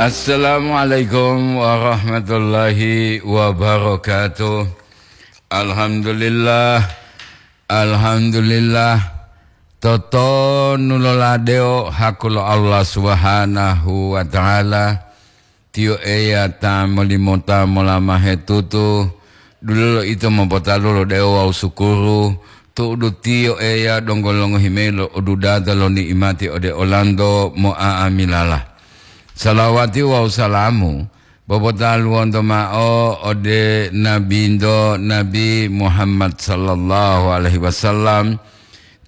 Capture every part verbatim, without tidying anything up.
Assalamualaikum warahmatullahi wabarakatuh. Alhamdulillah, alhamdulillah. Totonu loladeo haku lo Allah Subhanahu wa Ta'ala. Tiyo Eya ta molimota molamahe tutu, dulolo ito mopotalu lo dewo wawu sukuru, tu'udu Tiyo Eya donggo longohi mayi lo odudata lo ni'imati ode olanto mo'a'amilala. Salawati wawu salamu popotaluwonto mao ode Nabinto, Nabi Muhammad sallallahu alaihi wasallam,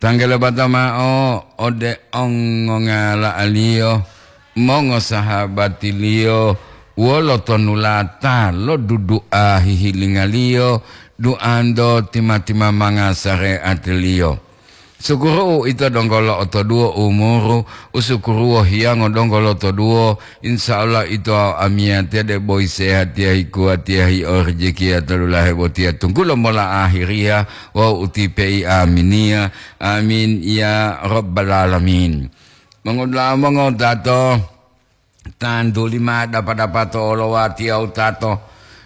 tanggele bata mao ode ongongala'aliyo, mongosahabatiliyo, wolo tonulata lo dudu'a hihilingaliyo, du'anto tima-timamanga sare'atiliyo. Sukuru'u ito donggo lo'otoduwo umuru, usukuruwo hiyango donggo lotoduwo, insya Allah ito amiyatiya de boyi sehatiya hikuwatiya hi'o rejekiya to dulahe botiya tunggulo mola ahiriya wawu utipe'i aminiya. Amin ya rabbal alamin. Mongodula'a mongotato, tantuli ma dapa-dapa to olowatiya wutato,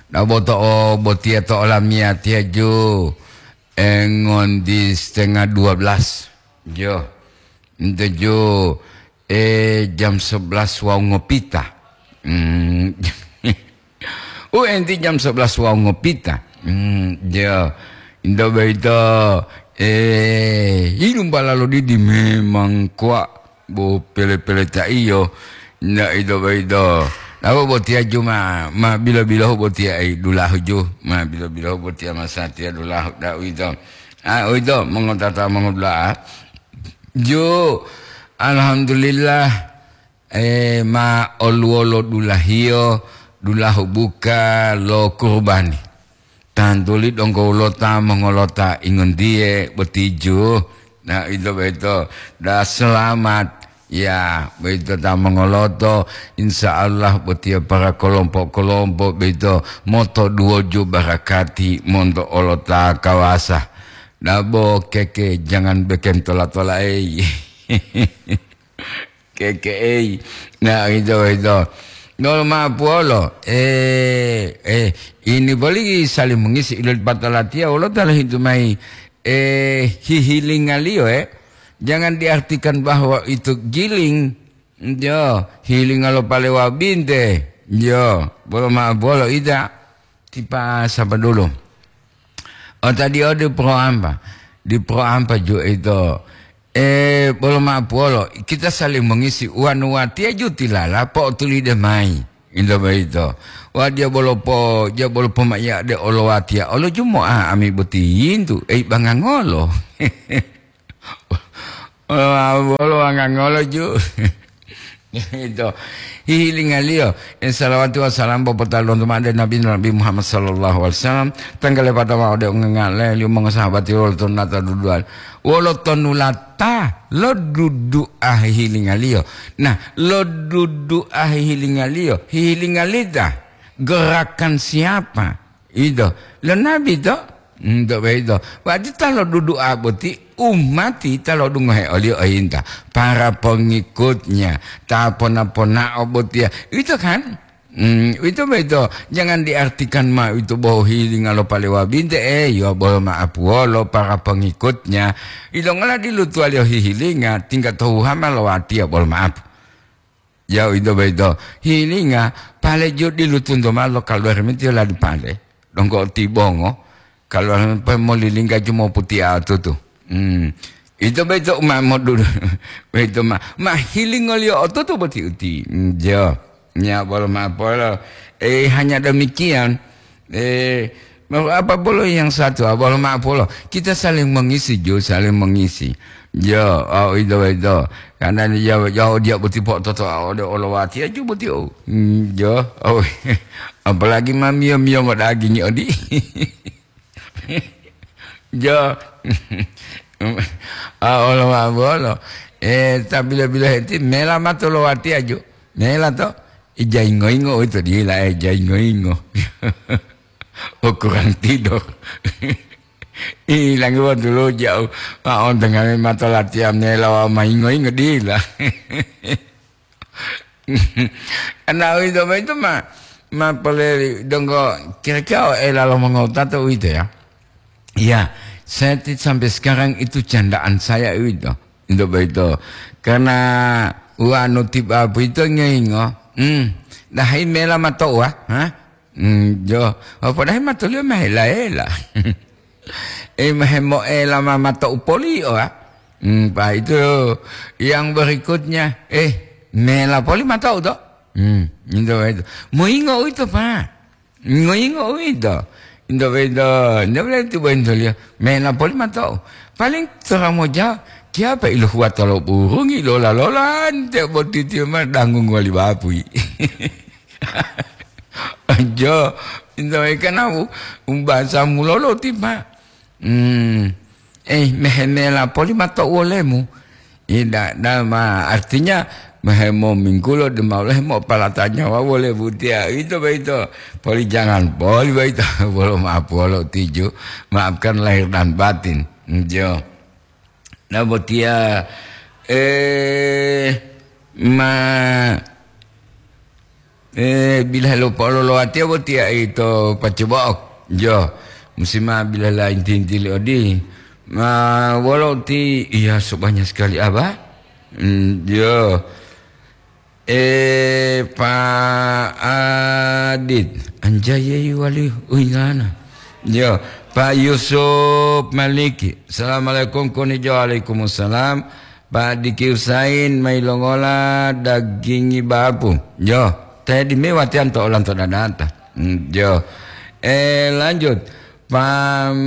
daboto o botiya to olamiyatiya ju, engondi setengah dua belas. Jo. Nte ju, eh, jam sebelas wawu ngopita. Hmm. U enti jam sebelas wawu ngopita. Hmm, ya. Inta boyito, eh, yilumpala lo didi memang kuwa bo pele-pele ta iyo. Nda ito boyito. Nabo botiya ju ma, ma bilo-bilohu botiya, eh, dulahu ju. Ma bilo-bilohu botiya masatiya dulahu. Nda uwito. Ah, uwito, mongotata mongodula'a. Ju, alhamdulillah. Eh, ma oluwolo dulahiyo, dulahu buka lo kurubani. Tantuli donggo wulota mongolota ingontiye boti ju. Na, ito boyito, da selamat. Ya, boyito ta mongoloto, insya Allah botiya para kelompok-kelompok boyito motoduwoju barakati monto olota kawasa. Dabo keke jangan beken tola-tola, ei. Keke'ei. Nah, gitu, gitu. Nolo ma'o puwolo, eh, eh, ini boli saling mengisi ilal batalatiya wolo ta lohintu mayi, eh, hihilingaliyo, eh. Jangan diartikan bahwa itu giling, yo, hilinga lo palewa binte, yo, bolo ma'o puwolo ida, tipa sapa dulu. O tadiyo di pro ampa, di pro ampa ju ito, eh, bolo ma'o puwolo, kita saling mengisi, uwanu watiya ju tilala po'otulide mayi, ito boyito. Watiya bolo po, ja bolo pomaiya de olo watiya, olo ju mo'a ami boti yintu, ei bangangolo. Wolo, wolo wangangolo ju. Ito, hihilingaliyo, eh, salawati wa salam popotalonto ma'o ode Nabi, Nabi Muhammad sallallahu alaihi wasallam, tanggale pata ma'o ode ungangale liyo mongosahabati wolo tonulata dudu'a. Wolo tonulata lo dudu'a hihilingaliyo. Nah, lo dudu'a hihilingaliyo, hihilingalita, gerakan siapa? Ito, lo Nabi to? Ento boyito. Wati ta lodudu'a boti, umati ta lo'odungohe oliyo oyinta, para pengikutnya, ta pona-ponao botiya. Ito kan? Hmm, ito boyito. Jangan diartikan ma ito bohu hilinga lo palewa binte, eh, yo bolo ma'o puwolo para pengikutnya. Ilongola dilutuwaliyo hihilinga, tingga tohuhama lo watiya bolo ma'o. Yau ito boyito, hilinga, pale ju dilutunto ma'o lo kaluwari metiyo ladi pale, donggo tibongo, kaluwari pe molilingga ju moputia tutu. Hmm. Ito boyito u ma modudu, boyito ma, ma hilingoliyo otutu boti uti. Hmm, jo. Nya bolo ma'o polo. Eh, hanya demikian. Eh, mau apa polo yang satu? Ah, bolo ma'o polo. Kita saling mengisi, ju, saling mengisi. Jo, oh, ito, ito. Karena ni jawa, jawa dia boti po'ototo, ah, ode olowati aju boti, oh. Hmm, jo, oh. Apalagi ma miyo-miyo ngo daging odi. Jo. Ah, olo ma bolo. Eh, ta bila-bila heti, mela mato lowati aju. Mela to. Ija ingo-ingo, oh, itu dila, eh, ija ingo-ingo. Oh, kurang tidur. Ilangi waktu lo jauh. Ma ontengame mato latihan mela wa ma ingo-ingo dila. Karena uwito boyito ma, ma poleli donggo kira-kira o ela lo mongowutato uwito ya. Ya, saya ti-, sampai sekarang itu candaan saya uwito. Uwito boyito. Karena wanu tiba boyito ngoyingo, hmm, dahi mela mato'uwa, ha? Hmm, jo, apa dahi matoliyo mahela-hela. Eh, mahemoela ma mato'u polio, ha? Hmm, pa itu yang berikutnya, eh, mela poli mato'u to? Hmm, uwito boyito. Moyingo uwito, Pak. Ngoyingo uwito. Into boyito, nde bole tibo intoliyo. Mena poli mato'u. Paling tora moja, kiyapa ilohuwa tolo burungi lola-lola, ante boti tiyo ma danggung wali bapui. Ojo, into boyito kana u-, umbasa mulolo tipa. Hmm. Eh, mehemela poli mato'u wolemu. Ida, dama artinya mehemominggulo dema oleh mo palata nyawa wole butiya. Ito boyito. Poli jangan poli boyito. Bolo maaf wolo tiju. Maafkan lahir dan batin. Jo. Nah, botiya, eh, ma Eh, bilahe lo po'ololowatiya botiya ito pacobo'o. Jo, musi ma bilahe la inti-inti li odi. Ma wolo ti, iya, so banyak sekali, Aba? Hmm, jo. Eh, Pak Adit, anjayeyi wali uingana. Jo, Pak Yusuf Maliki. Assalamualaikum, koni jo, waalaikumsalam. Pak Diki Husain, mailongola dagingi bapu? Jo, te dime watiyan to olanto dadata. Hmm, jo. Eh, lanjut. Pam,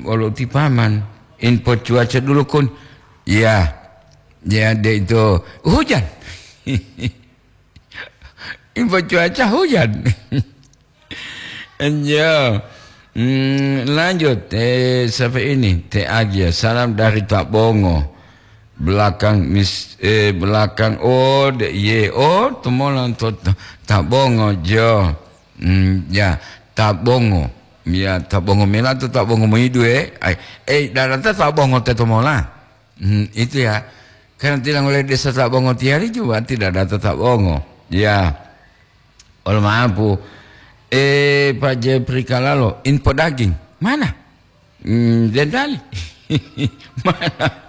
olo ti paman. Info cuaca dulu, Kun. Ya. Ya, de itu hujan. Info cuaca hujan. Enjo. Hmm, lanjut. Eh, siapa ini? Teh Agia. Salam dari Tabongo. Belakang mis-, eh, belakang. Oh, de, ye. Oh, temolan to, to, Tabongo, jo. Hmm, ya, Tabongo. Ya, Tabongo mela to Tabongo moidu, eh. Ai, eh, darata Tabongo te tomola. Hmm, itu ya. Karena tidak oleh desa Tabongo tiari juga tidak ada Tabongo. Ya. Olo maapu. Eh, Pak Jepri Kalalo, info daging. Mana? Hmm, dendali. Mana?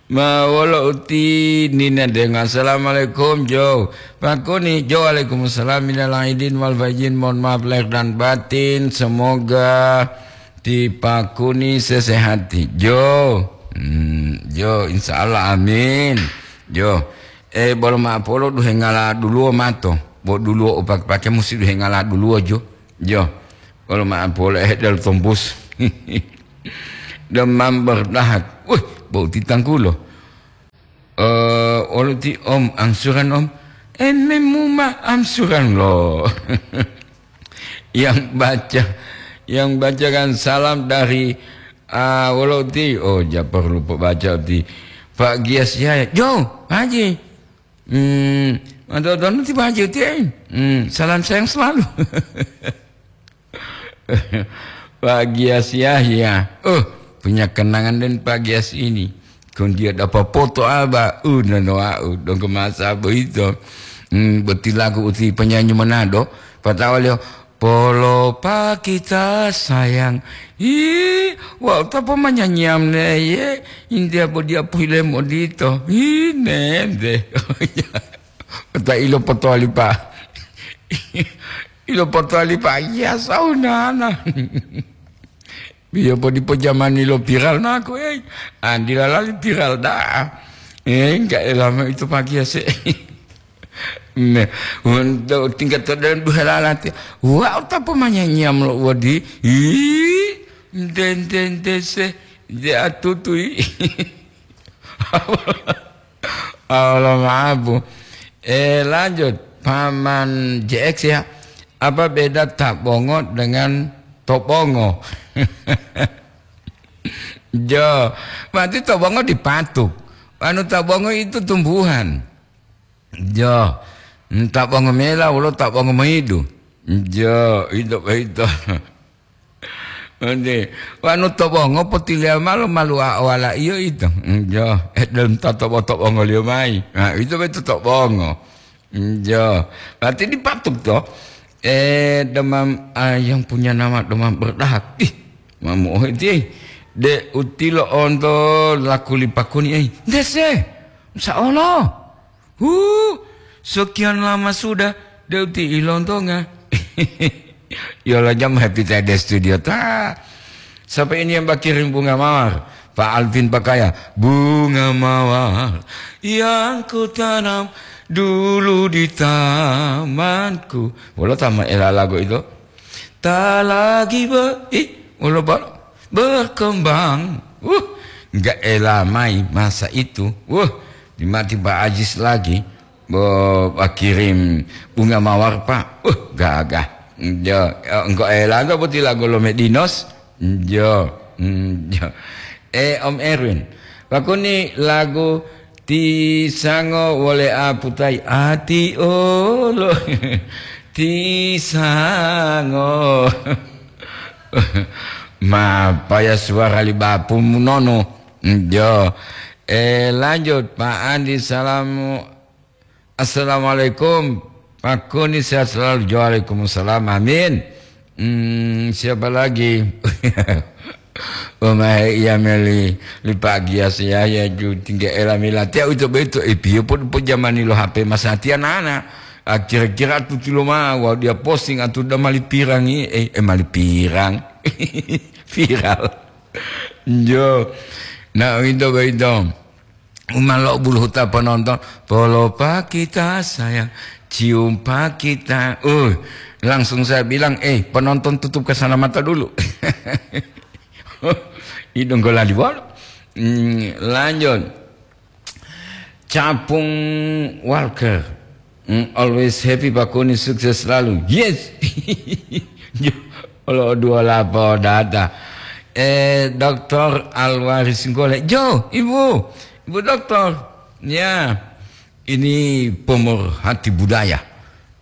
Ma wolo uti nina denga. Assalamualaikum, Jo. Pak Kuni, Jo, waalaikumsalam. Minal aidin wal faizin. Mohon maaf lahir dan batin. Semoga ti Pak Kuni sesehati. Jo. Hmm, Jo, insya Allah, amin. Jo. Eh, bolo maapolo duhe ngala duluwo mato. Bo duluwo o pake-pake musi duhe ngala duluwo, Jo. Jo. Bolo maapolo, eh, del tombus. Demam berdahak. Wih, bau titangkulo. Eh, olo ti Om, angsuran, Om. Eh, memuma angsuran lo. Yang baca, yang baca kan salam dari, ah, wolo ti, oh, ja perlu baca ti. Pak Gias Yahya, Jo, Haji. Hmm, mantap, nanti Pak Haji ti, eh. Hmm, salam sayang selalu. Pak Gias Yahya. Oh, punya kenangan dengan Pak Gias ini. Kun dia dapat foto apa? Uh, nono au, dong ke masa begitu. Hmm, betilaku uti penyanyi Manado. Patawalio, "Polo pa kita sayang." Ih, wau tapo manyanyiam ne ye. India bodia puhile modito. Ih, nende. Kota ilo potoli pa. Ilo potoli pa, iya saunana. Biyo po dipo jamani lo viral naku, eh. Andila lali viral da'a. Eh, enggak lama itu pagi ya, se. Nah, untuk tingkat to dalam dua lalati. Wau tapo manyanyiam lo wadi. Ih, ente, ente, ente, se. De atutui. Allah maapu. Eh, lanjut. Paman J X ya. Apa beda tabongo dengan tobongo? Jo, berarti tobongo dipatuk. Anu tabongo itu tumbuhan. Jo, tabongo mela wolo tabongo moidu. Jo, itu itu. Ode, wanu tobongo potiliya malo maluwa owala iyo ito. Njo, eh, dalam ta tobo-tobongoliyo mayi. Nah, ito beto tobongo. Njo. Berarti dipatuk to. Eh, demam, ah, yang punya nama demam berdarah. Ih, mamu oh iti. De utilo onto lakuli pakuni, eh. Dese. Insya Allah. Huh, sekian lama sudah, de uti ilontonga. Yolo jam happy tadi studio ta. Siapa ini yang bakirin bunga mawar? Pak Alvin Pakaya, bunga mawar yang ku tanam dulu di tamanku. Wolo tama ela lagu itu. Ta lagi be, ih, wolo bal-, berkembang. Uh, enggak ela mai masa itu. Uh, dimati Pak Ajis lagi. Bo, bakirim bunga mawar, Pak. Uh, gagah. Jo, engko ela engko boti lagu lo Medinos. Jo, mm, jo. Eh, Om Erwin. Pakuni lagu Tisango wole aputai ati olo. Tisango. Mapaya suara li bapumu nono. Jo. Eh, lanjut, Pak Andi, salamu. Assalamualaikum. Pak Kuni sehat selalu. Waalaikumsalam. Amin. Hmm, siapa lagi? Omahe iya meli li Pak Gias Yahya ju tingga ela milatiya uwito boyito, eh, piye pod-, pod jamani lo H P masatiya nana. Ah, kira-kira tutilo ma wawu dia posting atu da mali pirangi, eh, eh, mali pirang. Viral. Jo. Nah, uwito boyito. Umalo buluhuta penonton, "Polopa kita sayang, cium pa kita." Uh, langsung saya bilang, "Eh, penonton tutup ke sana mata dulu." Idung golali bolo. Hmm, lanjut. Capung Walker. Hmm, always happy Pak Kuni, sukses selalu. Yes. Olo dua lapo data. Eh, Doktor Alwaris Nggole. Jo, Ibu. Ibu Doktor. Ya. Ini pemerhati budaya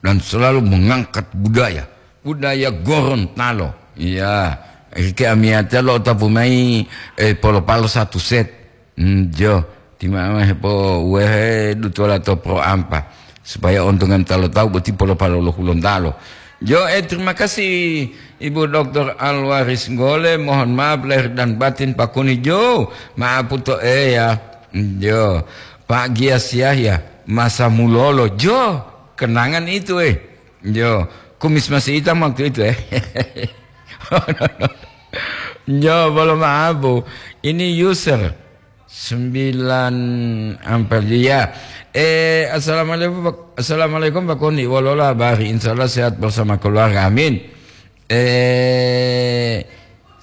dan selalu mengangkat budaya. Budaya Gorontalo. Ya. Ike amiyata lo tapu mai, eh, polo-palo satu set. Hmm, jo, ti mama hepo wehe dutola to pro ampa, supaya ontongan ta lo tawu boti polo-palo lo Hulontalo. Jo, eh, terima kasih Ibu Doktor Alwaris Nggole, mohon maaf lahir dan batin Pak Kuni jo, maapu to Eya. Jo, Pak Gias Yahya, masa mulolo jo, kenangan itu, eh. Jo, kumis masih hitam waktu itu, eh. Jo, bolo maapu. Ini user sembilan amper, ya. Eh, assalamualaikum, Pak. Assalamualaikum, Pak Koni. Wolola habari? Insya Allah sehat bersama keluarga. Amin. Eh,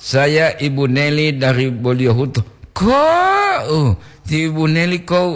saya Ibu Neli dari Boliohuto. Kok, uh, ti Ibu Neli kok,